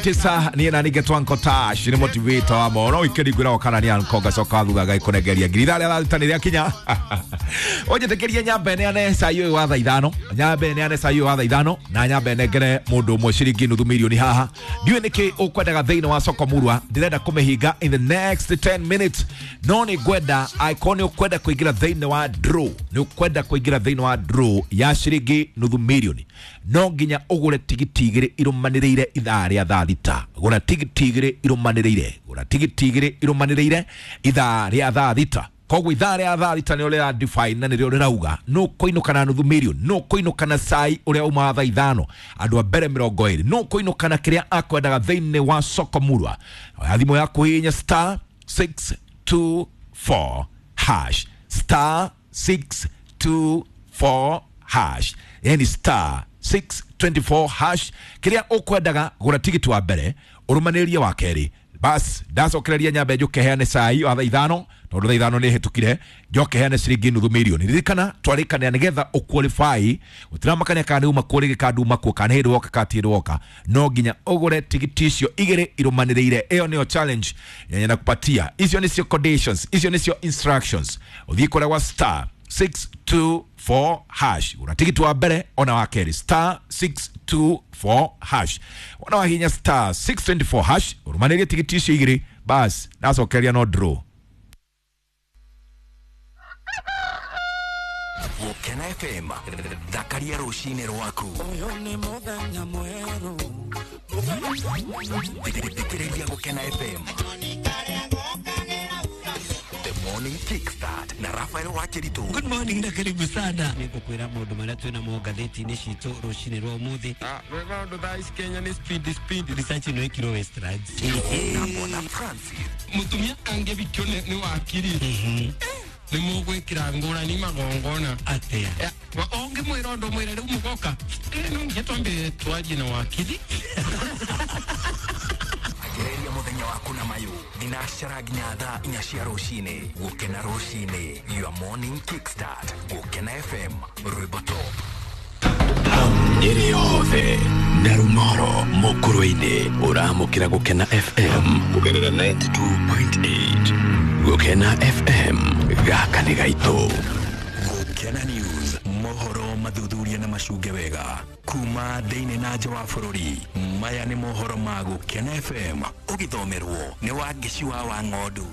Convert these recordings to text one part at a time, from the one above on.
Tisa niä na ningä twanko tash nä motivator wa mono ikeri ngwä kana nä anko ngacoka thutha gaikånengeria ngiri ithaa rä a thaa nä rä akinya å nyambe neane cai å yå wa thaa ithano, nyambe neane cai å wa thaa ithano na nyambe nengere må ndå å mwe ciringi nuthu milioni haha. Ndiå nä kä å kwendaga thä inä wa soko murwa, ndärenda kå mä hinga in the next 10 minutes, no nä ngwenda angĩkorwo nä å kwenda kå ingä ra thä inä wa draw, nä å kwenda kå ingä ra thä inä wa draw ya ciringi nuthu milioni, no nginya å gå re tigiti igä rä irå manä rä ire ithaa rä a thaa thita. Gũra tigiti igä rä irå manä rä ire, gũra tigiti igä rä irå manä rä ire ithaa rä a thaa thita. Koguo ithaa rä a thaa thita nä rä define na nä rä o rä rauga no kå na nuthu milioni, no kå na cai å rä a uma thaa ithano andå a mbere 20, no kå na kä rä a akwendaga thä inä wa soko murwa. Oya thimå yaku hihinya star 624 hash, star 624 hash, yani star 624 hash. Kiria ukwendaga gura tigiti wa mbere urumanĩrie wa kerĩ, bas ndacokereria nyambe njuke heane cai wa thaa ithano tondu thaa ithano nĩ hĩtũkire, njoke heane ciringi nuthu milioni. Ririkana twarĩkanĩra nĩgetha ũqualify, gũtiramakania kana nĩ uma kuo rĩngĩ kana nduma kuo kana hĩndĩ woka kana ti hĩndĩ woka, no nginya ũgũre tigiti icio igĩrĩ irũmanĩrĩire. Ĩyo nĩyo challenge yenye nakupatia, icio nĩcio conditions, icio nĩcio instructions. Ũthiĩ kũrĩa gwa star 624 hash, gũra tigiti wa mbere ona wa kerĩ, star 624 hash. Wona wahinya star 624 hash ũrũmanĩrie tigiti icio igĩrĩ, bas ndacokeria no draw. Gũkena FM, thakaria rũcinĩ rwaku. Thikĩrĩria Gũkena FM. The Morning Kickstart na Rafael Wakiritu. Good morning na karibu sana. Nĩngũkwĩra maũndũ marĩa twĩna mo ngathĩti-inĩ citũ rũcinĩ rwa ũmũthĩ. Maũndũ thaa ici Kenya nĩ speed speed. Research ĩno ĩkirwo Westlands. Na Bwana Francis. Mũtumia angĩbikio nĩ wakiri nĩ mũgwĩkĩra ngũrani magongona. Atĩa? Ũngĩmwĩra ũndũ mwĩre rĩu mũgoka no nginya twambe twarie na wakiri. Anjĩrĩria mũthenya waku na mayũ thinacara nginya thaa inya cia rũcinĩ. Gũkena rũcinĩ, your morning kickstart. Gũkena FM, rwĩmbo top. Nyĩrĩ yothe na Rung'oro mũkũrũ-inĩ ũramũkĩra Gũkena FM kũgerera 92.8. Gũkena FM, gaka nĩ gaitũ. Gũkena News, mohoro mathuthuria na macunge wega kuma thĩinĩ na nja wa bũrũri. Maya nĩ mohoro ma Gũkena FM ũgĩthomerwo nĩ Wangeci wa Wang'ondu.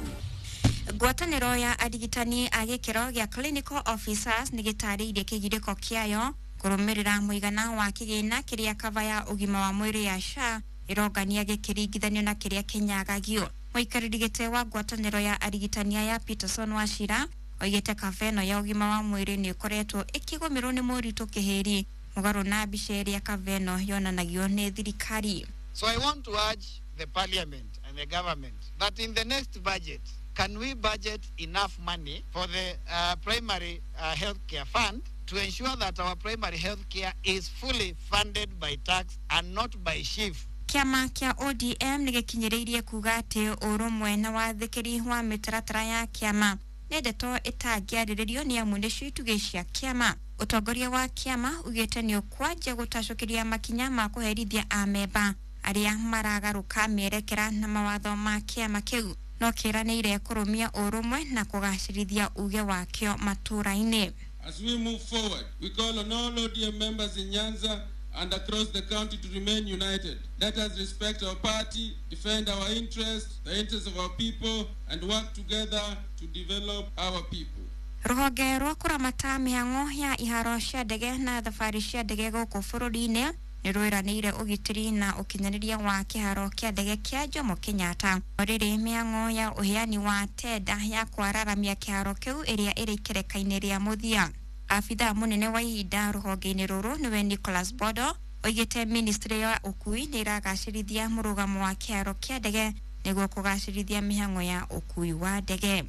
Ngwatanĩro ya arigitani a gĩkĩro gĩa clinical officers nĩ gĩtarĩirie kĩgirĩko kĩayo kũrũmĩrĩra mũigana wa kĩgĩna kĩrĩa kava ya ũgima wa mwĩrĩ ya SHA ĩrongania gĩkĩringithanio na kĩrĩa kĩnyagagio. Mũikarĩri gĩtĩ wa ngwatanĩro ya arigitani ya Peterson Wachira oigĩte kava ĩno ya ũgima wa mwĩrĩ nĩ ĩkoretwo ĩkĩgũmĩrwo nĩ moritũ kĩhĩri mũgarũ na mbica ĩrĩa kava ĩno yonanagio nĩ thirikari. So I want to urge the parliament and the government that in the next budget, can we budget enough money for the primary health care fund to ensure that our primary health care is fully funded by tax and not by SHIF? Kĩama kĩa ODM nĩ gĩkinyĩrĩirie kuga atĩ ũrũmwe na wathĩkĩri wa mĩtaratara ya kĩama nĩ ndeto ĩtangĩarĩrĩrio nĩ amu nĩcio itugĩ cia kĩama. Ũtongoria wa kĩama ugĩte nĩ ũkwanjia gũtacũkĩria makinya ma kũherithia amemba arĩa maragarũka mĩerekera na mawatho ma kĩama kĩu, no kĩranĩire kũrũmia ũrũmwe na kũgacĩrithia uge wakĩo matũũra-inĩ. As we move forward, we call on all ODM members in Nyanza and across the county to remain united. Let us respect our party, defend our interests, the interests of our people, and work together to develop our people. Rũhonge rwa kũramata mĩhang'o ya iharo cia ndege na thabarĩ cia ndege gũkũ bũrũri-inĩ nĩ rwĩranĩire ũgitĩri na ũkinyanĩria wa kĩharo kĩa ndege kĩa Jomo Kenyatta. Rĩrĩ mĩhang'o ya ũheani wa tenda ya kwararamia kĩharo kĩu ĩrĩa ĩrĩ ikereka-inĩ rĩa mũthia. Abithaa mũnene wa ihinda rũhonge-inĩ rũrũ nĩwe Nicholas Bodo oigĩte ministry ya ũkui nĩ ĩragacĩrithia mũrũgamo wa kĩharo kĩa ndege nĩguo kũgacĩrithia mĩhang'o ya ũkui wa ndege.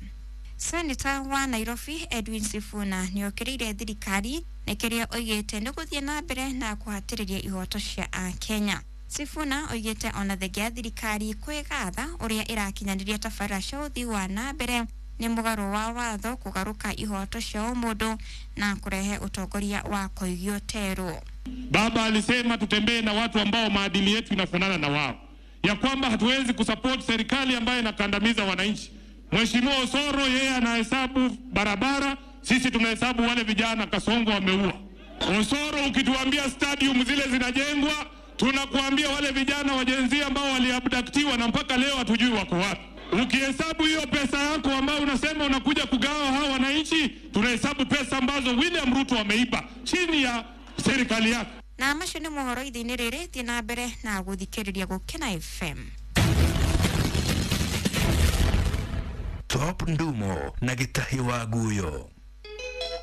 Senator wa Nairobi Edwin Sifuna nĩokĩrĩire thirikari nĩ kĩrĩa oigĩte nĩ gũthiĩ na mbere na kũhatĩrĩria ihoto cia Akenya. Sifuna oigĩte ona thengia ya thirikari kwĩgatha ũrĩa ĩrakinyanĩria tabarĩra cia ũthii wa na mbere nĩ mũgarũ wa watho kũgarũka ihoto cia ũmũndũ na kũrehe ũtongoria wa koigio terũ. Baba alisema tutembee na watu ambao maadili yetu inafanana na wao. ya kwamba hatuwezi kusupport serikali ambayo inakandamiza wananchi. Mheshimiwa Osoro yeye anahesabu barabara, sisi tunahesabu wale vijana Kasongo wameua. Osoro, ukituambia stadium zile zinajengwa, tunakuambia wale vijana wa Gen Z ambao waliabductiwa na mpaka leo hatujui wako wapi. Ukihesabu hiyo pesa yako ambayo unasema unakuja kugawa hawa wananchi, tunahesabu pesa ambazo William Ruto ameiba chini ya serikali yake. Na macio nĩ mohoro ithaa-inĩ rĩrĩ, thiĩ na mbere na gũthikĩrĩria Gũkena FM. Top Ndumo na Gĩtahi wa Guyo.